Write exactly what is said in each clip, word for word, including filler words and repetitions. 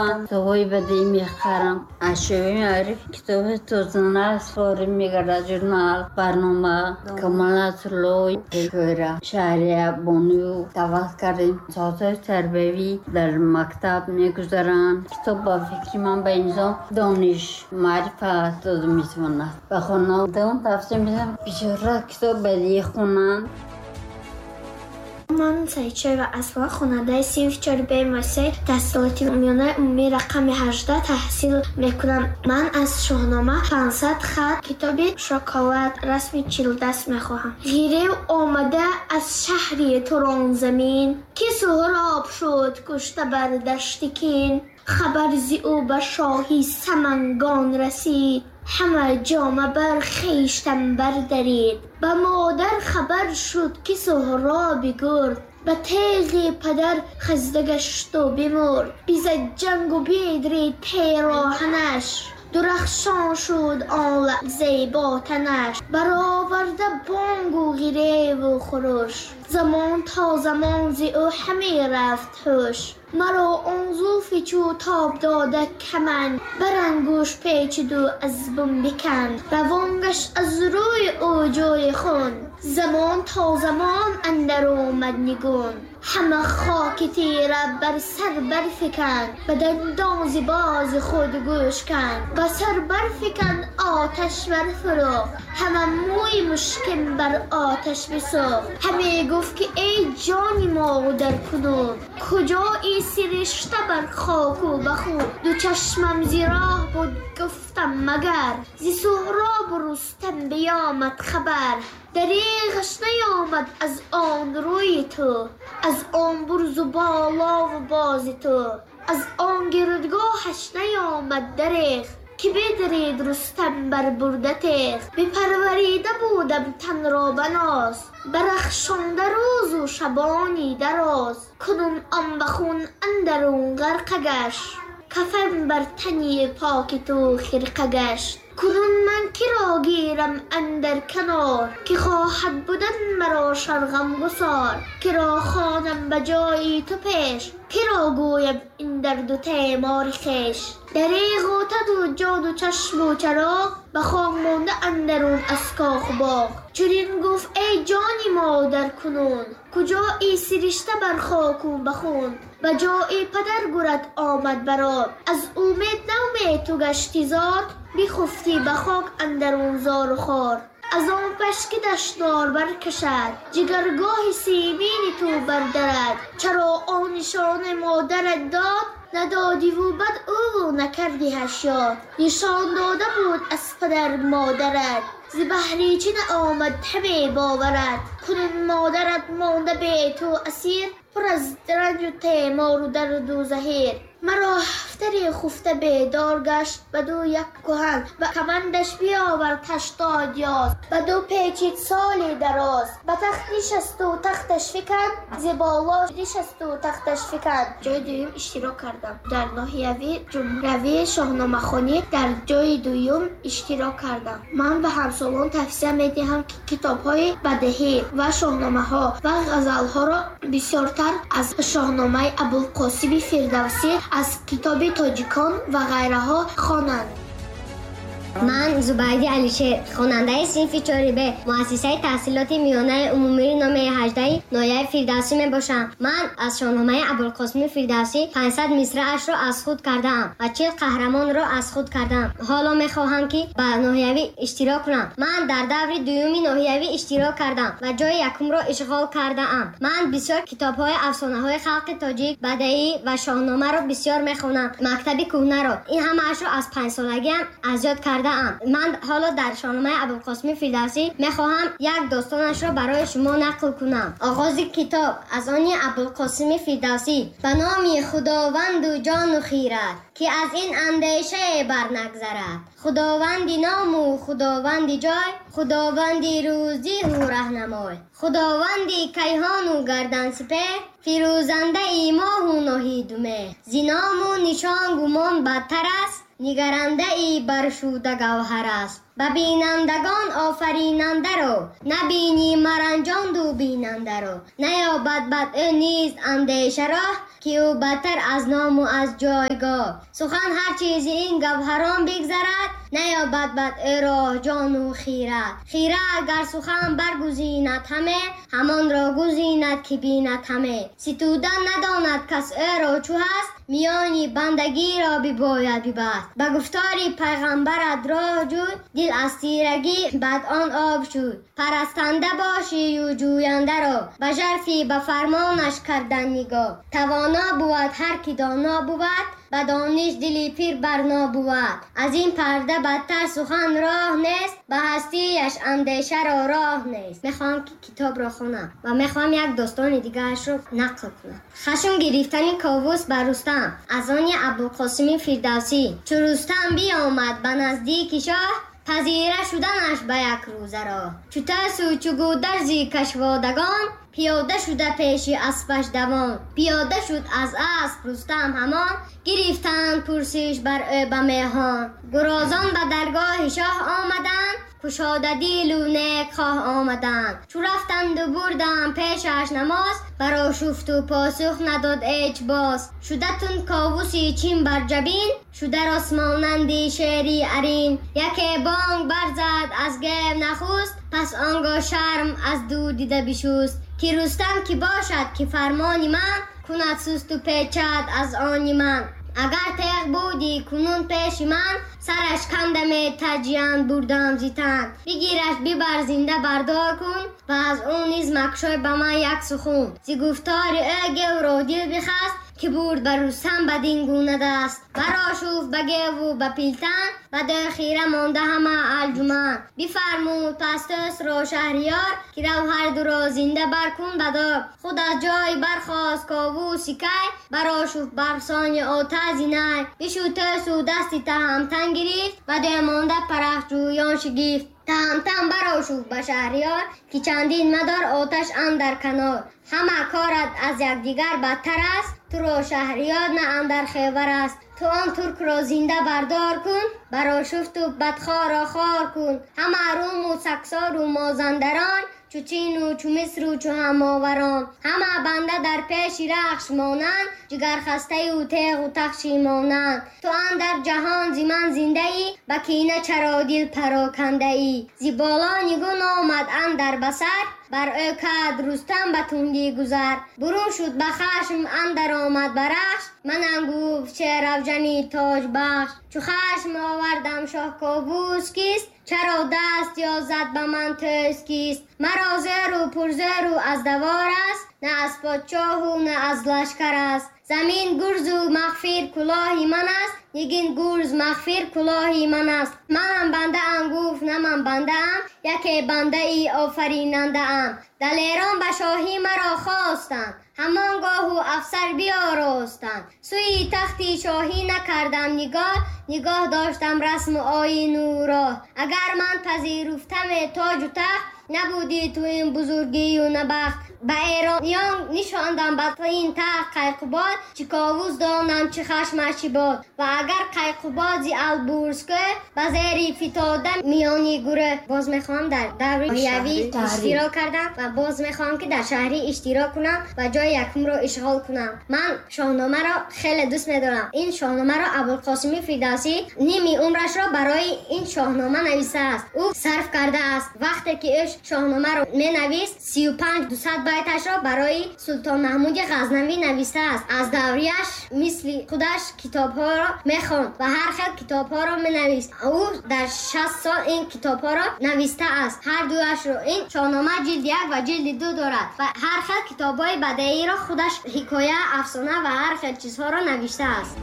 من کتاب‌های بدیعی میخرم. از شعبه معارف کتاب توزنه سفاری میگرد، ژورنال، برنامه، کمال نصرالله، شعر شهریه بانو دعوت کردیم. ساعت‌های تربیوی در مکتب میگذارند. کتاب با فکر من به انسان دانش معرفت داده میتواند. به خانواده‌ام توصیه میدم بیشتر کتاب بدیعی خونند. من سعید و اسما، خواننده صنف چهار ب مؤسسه تحصیلات میانه عمومی رقم هجده تحصیل میکنم. من از شاهنامه پانصد خط کتاب شکلات رسم چهل دست میخواهم. غیره آمده از شهری توران زمین، که سهراب شد کشته بر دشت کین. خبر زی او به شاهی سمنگان رسید، همه جامه بر خویشتن بردرید. به مادر خبر شد که سهراب گرد، به تیغ پدر خزده گشت و بمرد. بیزد جنگ و بیدرید پیراهنش، درخشان شد آن لحظه با تنش. برآورده بانگ و غیره و خروش، زمان تا زمان زی او همی رفت هوش. مرا آن زلف چو تاب داده کمند، بر انگوش پیچید و از بن بکند. روان گشت از روی او جوی خون، زمان تا زمان اندر آمد نگون. همه خاک تیره بر سر برفکند، به دندان ز باز خود گوش کند. به سر برفکند آتش برفروخت، همه موی مشکین بر آتش بسوخت. همه گفت که ای جان مادر کنون، کجا ای سرشته بر خاک و بخون. دو چشمم زی راه بود گفتم مگر، ز سهراب و رستم بیامد خبر. دریغش نیامد از آن روی تو، از آن برز و بالا و باز تو. از آن گردگاهش نیامد دریغ، که بدرید رستم بر برده تیغ. بپروریده بودم تن را به ناز، برخشانده روز و شبانی دراز. کنون آن به خون اندرون غرقه گشت، کفن بر تنی پاک تو خرقه گشت. کنون من که را گیرم اندر کنار، که خواهد بودن مرا شرغم گسار. که را خوانم به جای تو پیش، که را گویم این درد و تیمار خویش. دریغ و تد و جان و چشم و چراغ، به خاک مانده اندرون از کاخ و باغ. چنین گفت ای جانی مادر کنون، کجا ای سرشته بر خاک و بخون. به جای پدر گرد آمد برات، از امید نومید تو گشتی زار. بخفتی به خاک اندرون زار و خار، از آن پش که دشنار برکشد. جگرگاه سیمین تو بردرد، چرا آن نشان مادرت داد. ندادی و بد او نکردی هشیار، نشان داده بود از پدر مادرت. ز بهری چه نآمد همه باورت، کنون مادرت مانده به تو اسیر. پر از رنج و تیمار و درد و زهیر، مرا هفتری خفته بیدار گشت. بدو یک کهن و کمندش بیاورد هشتاد یاز. بدو پیچید سالی دراز، به تخت نشست و تختش فکند. ز بالا نشست و تختش فکند. جای دوم اشتراک کردم در ناحیوی جمهوری شاهنامه خوانی، در جای دوم اشتراک کردم. من به همسالان توصیه میدهم که کتاب‌های بدیهی و شاهنامه‌ها و غزل‌ها را بسیارتر از شاهنامه ابوالقاسم فردوسی، از کتاب تاجیکان و غیرها خوانند. من زبیدی علیشیر، خواننده صنف چهار ب مؤسسه تحصیلات میانه عمومی نام هجده ناحیه فردوسی می باشم. من از شاهنامه ابوالقاسم فردوسی پانصد مصرعش را از خود کردم و چهل قهرمان را از خود کردم. حالا می خواهم که به ناحیوی اشتراک کنم. من در دور دوم ناحیوی اشتراک کردم و جای یکم را اشغال کردم. من بسیار کتاب‌های افسانه‌های خلق تاجیک، بدیعی و شاهنامه را بسیار می خوانم. مکتب کهنه را، این همه‌اش را از پنج سالگی هم از یاد کردم. من حالا در شاهنامه ابوالقاسم فردوسی میخواهم یک داستانش را برای شما نقل کنم. آغاز کتاب از آن ابوالقاسم فردوسی: به نام خداوند و جان و خیرت، که از این اندیشه بر نگذرد. خداوند نام و خداوند جای، خداوند روزی و رهنمای، خداوند کیهان و گردن سپهر، فیروزنده ای ماه و ناهید و مهر. ز نام و نشان گمان بدتر است، نگرنده ای برشوده گوهر است. به بینندگان آفریننده رو، نبینی مرنجان دو بیننده رو. نیابد بدء نیز اندیشه راه، ки ӯ бадтар аз ному аз ҷойгоҳ. Сухан ҳар чизи ин гавҳарон бигзарад, наёбад бад ӯ роҳ ҷону хирад. Хирад гар сухан баргузинад ҳаме, ҳамонро гузинад ки бинад ҳаме. Ситудан надонад кас ӯро чу ҳаст, миёни бандагиро бибояд бибаст. Ба гуфтори пайғамбарат роҳ ҷӯй, дил аз тирагӣ бад он об шуд. Парастанда бошию ҷӯяндаро, ба жарфи ба фармонаш кардан нигоҳ. Тавоно бувад ҳар ки доно бувад, ба дониш дили пир барно бувад. Аз ин парда бадтар сухан роҳ нест, ба ҳастияш андешаро роҳ нест. Мехоҳам ки китобро хонам ва мехоҳам як достони дигарашро нақл кунам. Хашм гирифтани Ковус ба Рустам аз они Абулқосими Фирдавсӣ. Чу Рустам биомад ба наздики шоҳ, пазира шуданаш ба як рӯза роҳ. Чу тарсу чу гударзи кашводагон, пиёда шуда пеши аспаш давон. Пиёда шуд аз асп Рустам ҳамон, гирифтанд пурсиш бар ӯ ба меҳон. Гурозон ба даргоҳи шоҳ омаданд, кушода дилу некхоҳ омаданд. Чу рафтанду бурданд пешаш намоз, барошуфту посух надод ҳеҷ боз. Шуда тун Ковуси чин бар ҷабин, шуда рост монанди шери арин. Яке бонг барзад аз гев нахуст, пас он гоҳ шарм аз дур дида бишуст. Ки Рустам ки бошад ки фармони ман, кунад сусту печад аз они ман. Агар теғ буди кунун пеши ман, сараш кандаме таҷиянд бурдам зи тан. Бигираш бибар зинда бардор кун, ва аз ӯ низ макшой ба ман як сухун. Зи гуфтори ӯ гевро дил бихаст, ки бурд ба Рустам бадин гуна даст. Барошуфт ба геву ба пилтан, ба дӯ хира монда ҳама алҷуман. Бифармуд пас тӯсро шаҳриёр, ки рав ҳар дуро зинда баркун ба дор. Худ аз ҷой бархост Ковуси кай, барошуфт барсони отази най. Бишуд тӯсу дасти таҳамтан гирифт, ба дӯ монда парахҷӯён шигифт. Таҳамтан барошуфт ба шаҳриёр, ки чандин мадор оташ андар канор. Ҳама корат аз якдигар бадтар аст, туро шаҳриёр на андар хевар аст. Ту он туркро зинда бардор кун, барошуфту бадхоро хор кун. Ҳама руму саксору мозандарон, чу чину чу мисру чу ҳамоварон. Ҳама банда дар пеши рахш монанд, ҷигархастаю теғу тахши монанд. Ту андар ҷаҳон зи ман зиндаӣ, ба кина чаро дил парокандаӣ. Зи боло нигун омад андар басар, бар ӯ кард Рустам ба тундӣ гузар. Бурун шуд ба хашм андар омад ба рахш, манам гуфт шеравҷани тоҷбахш. Чу хашм овардам шоҳ Ковус кист, чаро даст ёзад ба ман тӯз кист? Маро зеру пурзеру аз давор аст, на аз подшоҳу на аз лашкар аст. Замин гурзу мағфир кулоҳи ман аст, нигин гурз мағфир кулоҳи ман аст. Манам бандаам гуфт на ман бандаам, яке бандаи офаринандаам. Далерон ба шоҳӣ маро хостанд, ҳамон гоҳу афсар биоростанд. Сӯи тахти шоҳӣ накардам нигоҳ, нигоҳ доштам расму оину роҳ. Агар ман пазируфтаме тоҷу тахт, набуди ту ин бузургию набахт. Ба эрониён нишондам ба ин тахт Қайқубод, чӣ Ковус донам чӣ хашмаш чӣ бод. Ва агар Қайқубод зи Албурз кӯ, ба зери фитода миёни гурӯҳ. Боз мехоҳам дар даври ноҳиявӣ иштирок кардам ва боз мехоҳам ки дар шаҳрӣ иштирок кунам ва ҷои якумро ишғол кунам. Ман шоҳномаро хеле дӯст медорам. Ин шоҳномаро Абулқосими Фирдавсӣ ними умрашро барои ин шоҳнома нависааст. Ӯ сарф кардааст. Вақте ки ӯ шоҳномаро менавист, сию панҷ дусад байташро барои Султон Маҳмуди Ғазнавӣ навистааст. Аз даврияш мисли худаш китобҳоро мехонд ва ҳар хел китобҳоро менавист. Ӯ дар шаст сол ин китобҳоро навистааст. Ҳар дуяшро ин шоҳнома ҷилди як ва ҷилди ду дорад ва ҳар хел китобҳои бадеиро худаш ҳикоя, афсона ва ҳар хел чизҳоро навиштааст.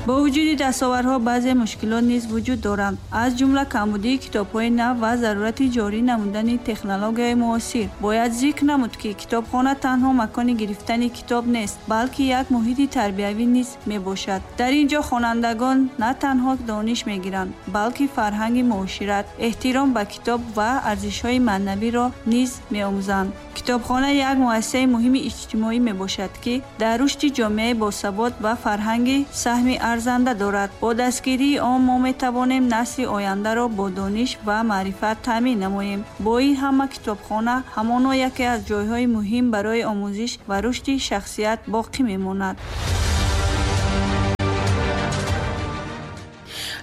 Бо вуҷуди дастовардҳо баъзе мушкилот низ вуҷуд доранд, аз ҷумла камбудии китобҳои нав ва зарурати ҷорӣ намудани технологияи муосир. Бояд зикр намуд, ки китобхона танҳо макони гирифтани китоб нест, балки як муҳити тарбиявӣ низ мебошад. Дар ин ҷо хонандагон на танҳо дониш мегиранд, балки фарҳанги муошират, эҳтиром ба китоб ва арзишҳои маънавиро низ меомӯзанд. Китобхона як муассисаи муҳими иҷтимоӣ мебошад, ки дар рушди ҷомеаи босавод ва фарҳанги саҳми арзанда дорад. Бо дастгирии он мо метавонем насли ояндаро бо дониш ва маърифат таъмин намоем. Бо ин ҳама китобхона ҳамоно яке аз ҷойҳои муҳим барои омӯзиш ва рушди шахсият боқӣ мемонад.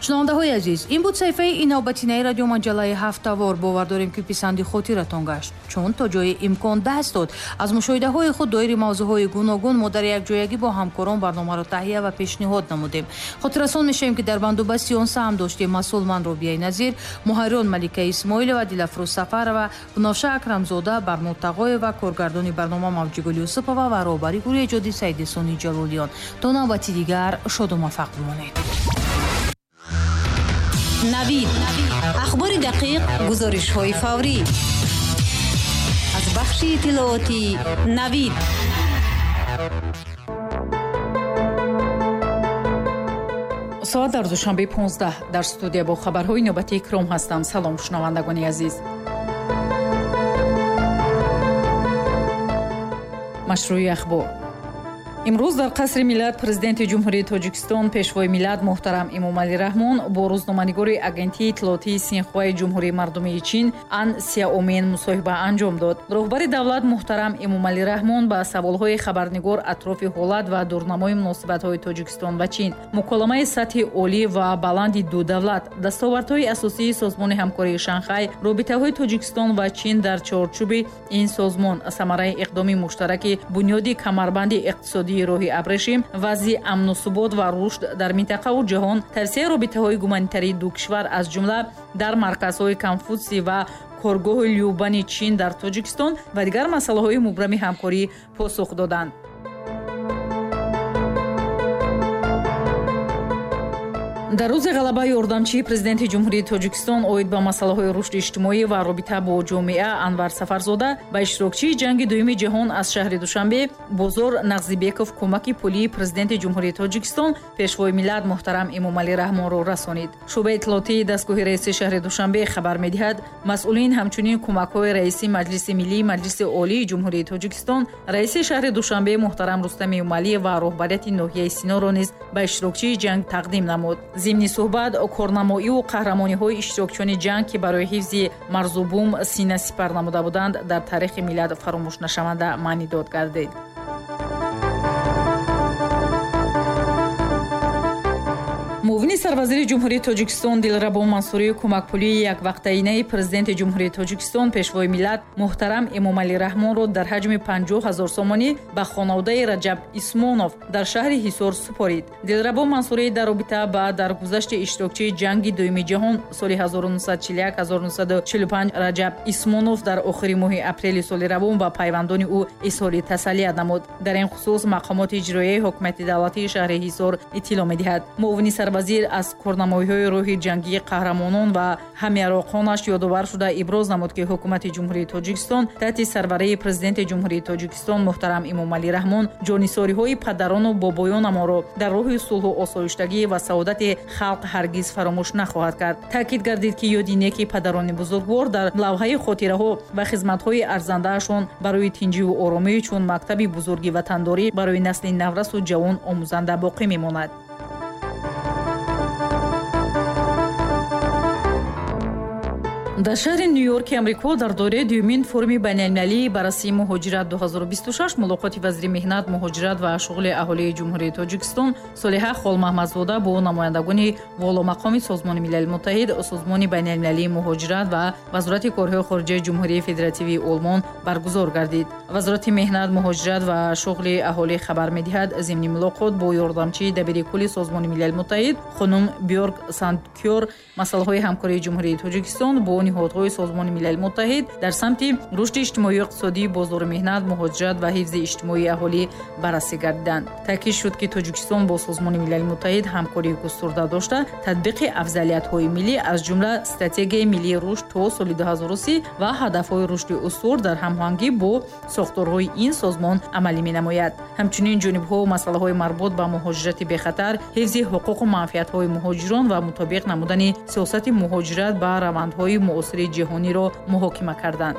Шунавандаҳои азиз, ин буд саҳифаи инобатинаи радиомаҷаллаи ҳафтавор. Бовар дорем, ки писанди хотиратон гашт, чун то ҷои имкон даст дод. Аз мушоҳидаҳои худ доири мавзӯъҳои гуногун мо дар якҷоягӣ бо ҳамкорон барномаро таҳия ва пешниҳод намудем. Хотиррасон мешавем, ки дар бандубасти он саҳм доштем масъул ман Робияи Назир, муҳаррирон Малика Исмоилова, Дилафрӯз Сафарова, Бунафша Акрамзода, Барнод Тағоева, коргардони барнома Мавҷигул Юсупова ва роҳбари гурӯҳи эҷодӣ Саидесони Ҷалолиён. То навбати дигар шоду муваффақ бимонед. Навид. Ахбори дақиқ, гузоришҳои фаврӣ. Аз бахши иттилоотии Навид. Соат дар Душанбе понздаҳ. Дар студия бо хабарҳои навбатии Икром ҳастам. Салом, шунавандагони азиз. Машрӯи ахбор. Имрӯз дар қасри миллат президенти Ҷумҳурии Тоҷикистон, пешвои миллат муҳтарам Эмомалӣ Раҳмон бо рӯзноманигори агентии иттилоотии Синхуаи Ҷумҳурии Мардумии Чин Ан Сяомин мусоҳиба анҷом дод. Роҳбари давлат муҳтарам Эмомалӣ Раҳмон ба саволҳои хабарнигор атрофи ҳолат ва дурнамои муносибатҳои Тоҷикистон ва Чин, муколамаи сатҳи олӣ ва баланди ду давлат, дастовардҳои асосии созмони ҳамкории Шанхай, робитаҳои Тоҷикистон ва Чин дар чорчӯби ин созмон, самараи иқдоми муштараки бунёди камарбанди иқтисодӣ роҳи абрешим, вазъи амну субот ва рушд дар минтақаву ҷаҳон, тавсияи робитаҳои гуманитарии ду кишвар аз ҷумла дар марказҳои Конфутсий ва коргоҳи Любани Чин дар Тоҷикистон ва дигар масъалаҳои мубрами ҳамкорӣ посух доданд. Дар рӯзи ғалаба ёрдамчии президенти Ҷумҳурии Тоҷикистон оид ба масъалаҳои рушди иҷтимоӣ ва робита бо ҷомеа Анвар Сафарзода ба иштирокчии ҷанги дуюми ҷаҳон аз шаҳри Душанбе Бозор Нағзибеков кӯмаки пулии президенти Ҷумҳурии Тоҷикистон, пешвои миллат муҳтарам Эмомалӣ Раҳмонро расонид. Шӯъбаи иттилоотии дастгоҳи раиси шаҳри Душанбе хабар медиҳад, масъулин ҳамчунин кӯмакҳои раиси Маҷлиси Миллии Маҷлиси Олии Ҷумҳурии Тоҷикистон, раиси шаҳри Душанбе муҳтарам Рустам Эмомалӣ ва роҳбарияти ноҳияи Синоро низ ба иштирокчии ҷанг тақдим намуд. Зимни суҳбат корнамоиву қаҳрамониҳои иштирокчиёни ҷанг, ки барои ҳифзи марзу бум сина сипар намуда буданд, дар таърихи миллат фаромӯшнашаванда маънидод гардид. Муовини сарвазири Ҷумҳурии Тоҷикистон Дилрабо Мансурӣ кӯмакпулии яквақтаинаи президенти Ҷумҳурии Тоҷикистон, пешвои миллат муҳтарам Эмомалӣ Раҳмонро дар ҳаҷми панҷоҳ ҳазор сомонӣ ба хонаводаи Раҷаб Исмонов дар шаҳри Ҳисор супорид. Дилрабо Мансурӣ дар робита ба даргузашти иштирокчии ҷанги дуюми ҷаҳон соли ҳазору нӯҳсаду чилу як ҳазору нӯҳсаду чилу панҷ Раҷаб Исмонов дар охири моҳи апрели соли равон ба пайвандони ӯ изҳори тасаллият намуд. Дар ин хусус мақомоти иҷроияи ҳукумати давлатии шаҳри Ҳисор иттилоъ медиҳад. Муовини сарвазир аз корнамоиҳои рӯҳи ҷангии қаҳрамонон ва ҳамяроқонаш ёдовар шуда иброз намуд, ки ҳукумати Ҷумҳурии Тоҷикистон таҳти сарварии президенти Ҷумҳурии Тоҷикистон муҳтарам Эмомалӣ Раҳмон ҷонисориҳои падарону бобоёнамонро дар роҳи сулҳу осоиштагӣ ва саодати халқ ҳаргиз фаромӯш нахоҳад кард. Таъкид гардид, ки ёди неки падарони бузургвор дар лавҳаи хотираҳо ва хизматҳои арзандаашон барои тинҷиву оромӣ чун мактаби бузурги ватандорӣ барои насли наврасу ҷавон омӯзанда боқӣ мемонад. Дар шаҳри Нью-Йорки Амрико дар доираи дуюмин форуми байналмилалии баррасии муҳоҷират ду ҳазору бисту шаш мулоқоти вазири меҳнат, муҳоҷират ва шуғли аҳолии Ҷумҳурии Тоҷикистон Солиҳа Холмаҳмадзода бо намояндагони воломақоми Созмони Милали Муттаҳид, Созмони байналмилалии муҳоҷират ва Вазорати корҳои хориҷаи Ҷумҳурии Федеративии Олмон баргузор гардид. Вазорати меҳнат, муҳоҷират ва шуғли аҳолӣ хабар медиҳад, зимни мулоқот бо ёрдамчии дабири кулли Созмони Милали Муттаҳид хонум Бьорг Сандкёр масъалаҳои ҳамкории Ҷумҳурии Тоҷикистон бо ниҳодҳои Созмони Милали Муттаҳид дар самти рушди иҷтимоию иқтисодӣ, бозори меҳнат, муҳоҷират ва ҳифзи иҷтимоии аҳолӣ баррасӣ гардиданд. Таъкид шуд, ки Тоҷикистон бо Созмони Милали Муттаҳид ҳамкории густурда дошта, татбиқи афзалиятҳои миллӣ аз ҷумла стратегияи миллии рушд то соли ду ҳазору си ва ҳадафҳои рушди устувор дар ҳамоҳангӣ бо сохторҳои ин созмон амалӣ менамояд. Ҳамчунин ҷонибҳо масъалаҳои марбут ба муҳоҷирати бехатар, ҳифзи ҳуқуқу манфиатҳои муҳоҷирон ва мутобиқ намудани сиёсати муҳоҷират ба равандҳои муосири ҷаҳониро муҳокима карданд.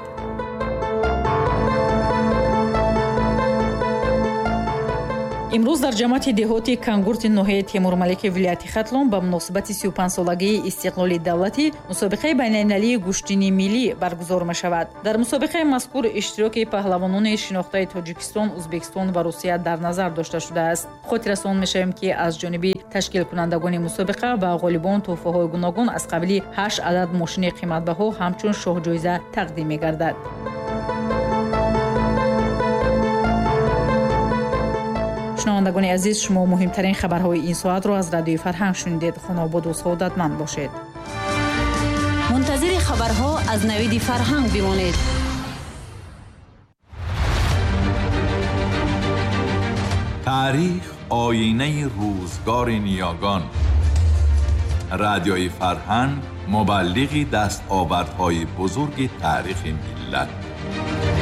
Имрӯз дар ҷамоати деҳоти Кангурти ноҳияи Темурмалики вилояти Хатлон ба муносибати сию панҷсолагии истиқлоли давлатӣ мусобиқаи байналмилалии гӯштини миллӣ баргузор мешавад. Дар мусобиқаи мазкур иштироки паҳлавонони шинохтаи Тоҷикистон, Ӯзбекистон ва Русия дар назар дошта шудааст. Хотиррасон мешавем, ки аз ҷониби ташкилкунандагони мусобиқа ба ғолибон тӯҳфаҳои гуногун аз қабили ҳашт адад мошини қиматбаҳо ҳамчун шоҳҷоиза тақдим мегардад. Шунавандагони азиз, шумо муҳимтарин хабарҳои ин соатро аз Радиои Фарҳанг шунидед. Хонободу саодатманд бошед. Мунтазири хабарҳо аз Навиди Фарҳанг бимонед. Таърих оинаи рӯзгори ниёгон. Радиои Фарҳанг мубаллиғи дастовардҳои бузурги таърихи миллат.